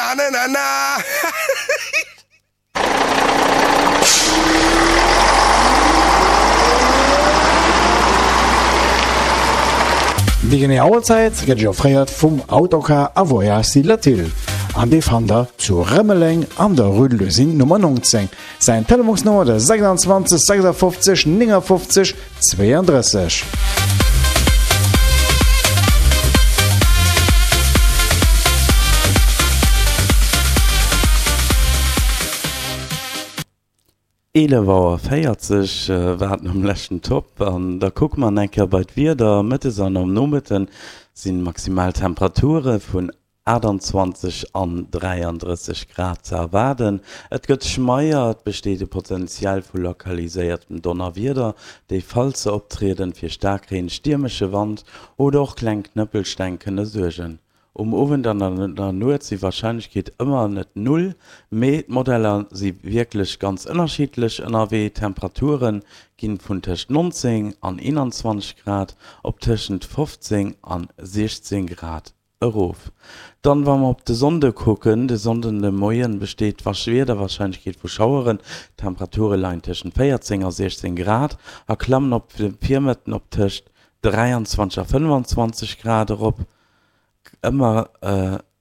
na na na na. Déi genee Auerzäit gëtt Iech offréiert vum Autocar a Voyage Latil an dee fannt der zu Rëmeleng an der Rue de l'Usine Nummer 19. Säin Telefonsnummer de 26 56 59 32. 11 Auer 40 war et nom leschten Top an da kucke mer eng Kéier bei d'Wieder. Mëttes an am Nomëtte sinn maximal Temperature vun 28 an 33 Grad ze erwaarden. Et gëtt schmeier, et besteet e Potenzial vu lokaliséiertem Donnerwieder, déi falls se optrieden, fir Staarkreen, stiermesche Wand oder och kleng Knëppelsteng kënne suergen. Um Owend an an der Nuet si Warscheinlechkeet ëmmer net null, mee d'Modeller si wierklech ganz ënnerschiddlech ënnerwee. D'Temperature ginn vun tëscht 19 an 21 Grad op tëschent 15 an 16 Grad Erof. Dann, wa mer op de Sonnde kucken, De Sonnden de Moien besteet Wiederwarscheinlechkeet vu Schaueren, d'Temperature leien tëschent 14 a 16 Grad a klammen op de Virmëtten op tëscht 23 a 25 Grad erop. Ëmmer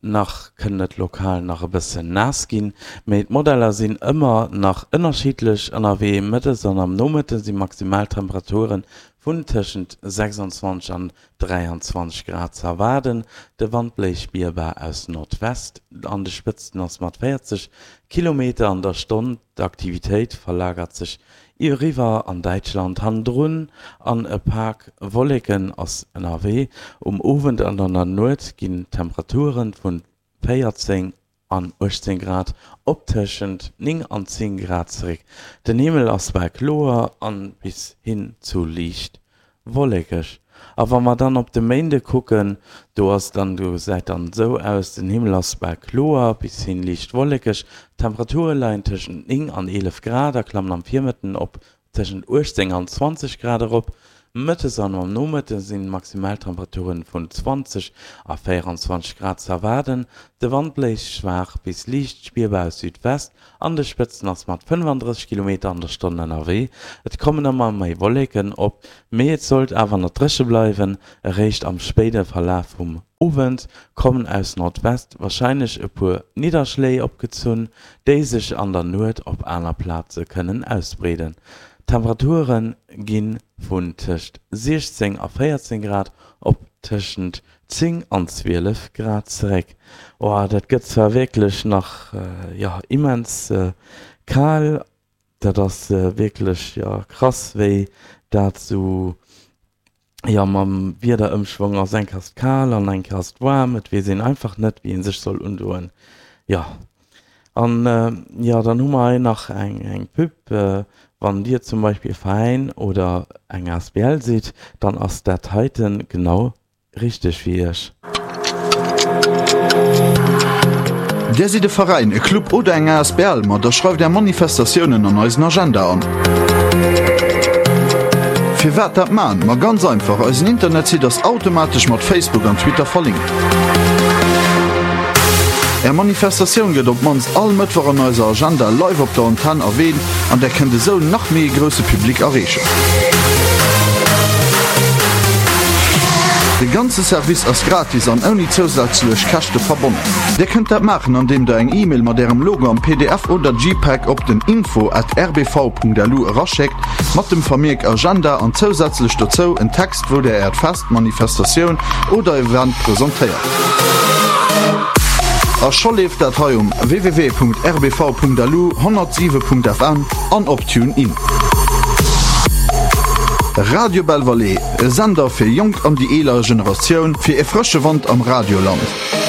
nach kënnt et lokal nach e bëssen naass ginn, mee d'Modeller sinn ëmmer nach ënnerschiddlech ënnerwee. Mëttes an am Nomëtte si Maximaltemperature vun tëschent 26 an 23 Grad ze erwaarden. De Wand bléist spierbar aus Nordwest, an de Spëtzten ass mat 40 Kilometer an der Stonn. D'Aktivitéit verlagert sech eriwwer an Däitschland hannendrun an e Pak Wolleken ass ënnerwee. Um Owend an an der Nuet ginn d'Temperature vun 14 an 18 Grad op tëschent 9 an 10 Grad zeréck. Den Himmel ass bal kloer an bis hin zu liicht wollekeg. A wa mer dann op de Méinde kucken, do ass dann, do gesäit dann esou aus, den Himmel ass bal kloer bis hin liicht wollekeg, d'Temperature leien tëschent 9 an 11 Grad a klammen am Virmëtten op Tëschent 18 an 20 Grad erop. Mëttes an am Nomëtte sinn Maximaltemperaturen vun 20 a 24 Grad ze erwaarden. De Wand bléist schwaach bis liicht spierbar aus Südwest, an de Spëtzen ass mat 35 Kilometer an der Stonn ënnerwee. Et kommen ëmmer méi Wolleken op, mee et sollt awer nach dréche bleiwen. Eréischt am spéide Verlaf vum Owend kommen aus Nordwest warscheinlech e puer Nidderschléi opgezunn, déi sech an der Nuet op aner Plaze kënnen ausbreeden. D'Temperature gi vun tëscht 16 a 14 Grad op tëschent 10 an 12 Grad zeréck. Oh, dat gëtt zwar wierklech nach, jo, immens kal. Dat ass wierklech, jo, krass, wéi dat sou, jo, mam Wiederëmschwong ass. Eng Kéier ass et kal an eng Kéier ass et waarm. Et weess een einfach net, wéi ee sech soll undoen. Jo, an, jo, dann hu mer hei nach eng, eng Pub. Wann Dir zum Beispill e Veräin oder eng asbl sidd, dann ass dat heiten genau Richteg fir iech. Dir sidd e Veräin, e Club oder eng asbl? Ma da schreift är Manifestatiounen an eisen Agenda an. Firwat dat man? Ma ganz einfach, eisen Internetsite ass automatesch mat Facebook an Twitter verlinkt. Är Manifestatioun gëtt op d'mannst all Mëttwoch an eiser Agenda live op der Antenn erwähnt an där kënnt esou nach méi e grousse Public erreechen. De ganze Service ass gratis an ouni zousätzlech Käschte verbonnen. Dir kënnt dat maachen andeem der eng E-Mail mat ärem Logo am pdf oder JPEG op den info at rbv.lu eraschéckt mat dem Vermierk Agenda an zousätzlech dozou en Text wou der äert Fest, Manifestatioun oder Event presentéiert. A scho leeft dat hei um www.rbv.lu, 107.fm an op TuneIn. Radio Belval, e Sender fir jonk an déi eeler Generatioun, fir e frësche Wand am Radioland.